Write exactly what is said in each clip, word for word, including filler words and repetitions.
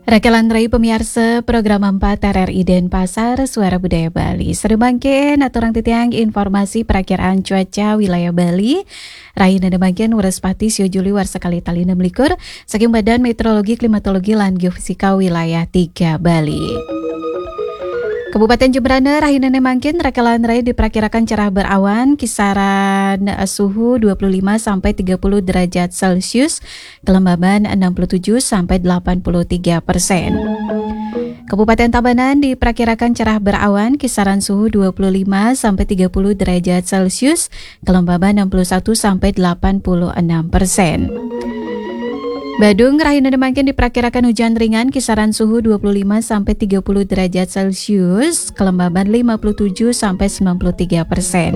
Rakelan rai pamiarsa program empat R R I Denpasar, Suara Budaya Bali. Sadaya mangkin aturang titiang informasi perakiraan cuaca wilayah Bali. Rahinana mangkin Wrespati sio Juli warsa kalih tali enam likur, saking Badan Meteorologi, Klimatologi, lan Geofisika Wilayah tiga Bali. Kabupaten Jembrana rahinana mangkin rakelan rai diperkirakan cerah berawan, kisaran, eh, suhu dua puluh lima sampai tiga puluh derajat Celcius, kelembaban enam puluh tujuh sampai delapan puluh tiga persen. Kabupaten Tabanan diperkirakan cerah berawan, kisaran suhu dua puluh lima sampai tiga puluh derajat Celcius, kelembaban enam puluh satu sampai delapan puluh enam persen. Badung rahinana mangkin diperkirakan hujan ringan, kisaran suhu dua puluh lima sampai tiga puluh derajat Celcius, kelembaban lima puluh tujuh sampai sembilan puluh tiga persen.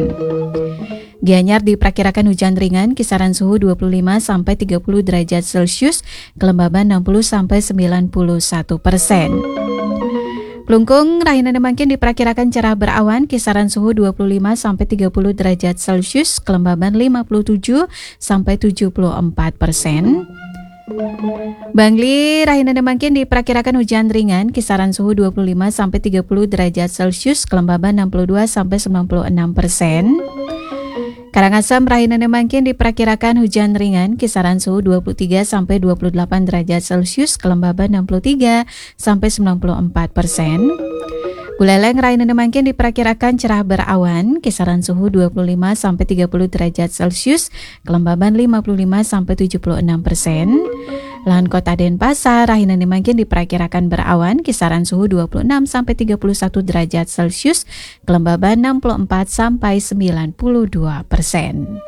Gianyar diperkirakan hujan ringan, kisaran suhu dua puluh lima sampai tiga puluh derajat Celcius, kelembaban enam puluh sampai sembilan puluh satu persen. Klungkung rahinana mangkin diperkirakan cerah berawan, kisaran suhu dua puluh lima sampai tiga puluh derajat Celcius, kelembaban lima puluh tujuh sampai tujuh puluh empat persen. Bangli rahinana mangkin diperkirakan hujan ringan, kisaran suhu dua puluh lima sampai tiga puluh derajat Celcius, kelembaban enam puluh dua sampai sembilan puluh enam persen. Karangasem rahinana mangkin diperkirakan hujan ringan, kisaran suhu dua puluh tiga sampai dua puluh delapan derajat Celcius, kelembaban enam puluh tiga sampai sembilan puluh empat persen. Buleleng rahinana mangkin diperkirakan cerah berawan, kisaran suhu dua puluh lima sampai tiga puluh derajat Celcius, kelembaban lima puluh lima sampai tujuh puluh enam persen. Lan Kota Denpasar rahinana mangkin diperkirakan berawan, kisaran suhu dua puluh enam sampai tiga puluh satu derajat Celcius, kelembaban enam puluh empat sampai sembilan puluh dua persen.